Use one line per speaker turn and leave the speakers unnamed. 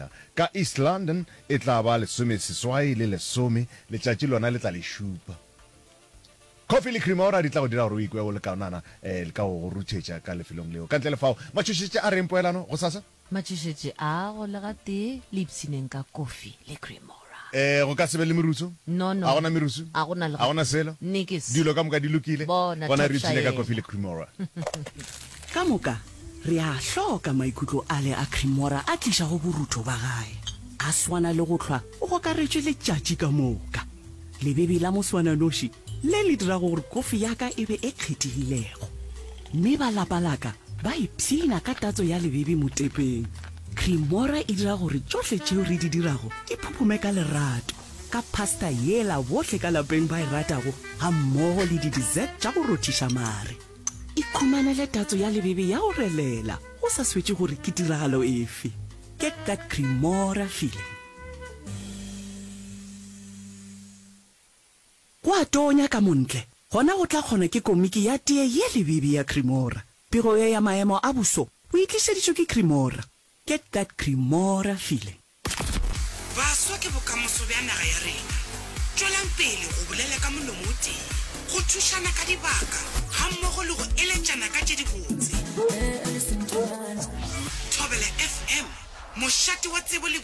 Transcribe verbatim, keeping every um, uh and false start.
tshela. Ka East London e tla ba lesomeseswai le lesome, letšatši lona le tla le šupa. Coffee le Cremora di tla go dira gore o ikwe o le kaonana eh, ka go go ruthetša ka lefelong leo. Ka ntle le fao, matšhošetši a reng poelano gosasa?
Matšhošetši a go le gatee le ipshineng ka kofi le Cremora.
Eh, go ka se be le merutso?
No, no.
A gona merusu?
A gona le
A gona selo?
Nikis.
Dilo ka moka di lokile?
Bona,
Gona re
top
ipshine ka
šaela.
kofi le Cremora.
Ka moka re a hloka maikutlo ale a Cremora a tlišago borutho ba gae. A swana le go hlwa o gokaretšwe letšatši ka moka. Lebebe la moswananoši le le dirago gore kofi ya ka e be e kgethegilego. Mme ba lapa la ka ba ipshina ka tatso ya lebebe motepeng. Cremora e dira gore tšohle tšeo re di dirago di phuphume ka lerato, ka pasta yela bohle ka lapeng ba e ratago gammogo le di-dessert tša go rothiša mare. Ikhumanele tatso ya lebebe ya go relela go sa swetše gore ke tiragalo efe. Get that Cremora feeling. Go a tonya ka montle, gona go tla kgona ke komiki ya teye ye lebebe ya Cremora. Pego ye ya maemo a boso o e tlišeditšwe ke Cremora. Get that Cremora feeling.
Baswa ke bokamoso bja naga ya rena. Tšwelang pele go bolela ka molomo o tee, go thušana ka dibaka gammogo le go eletšana ka tše dibotse. Thobela F M, mošate wa tsebo le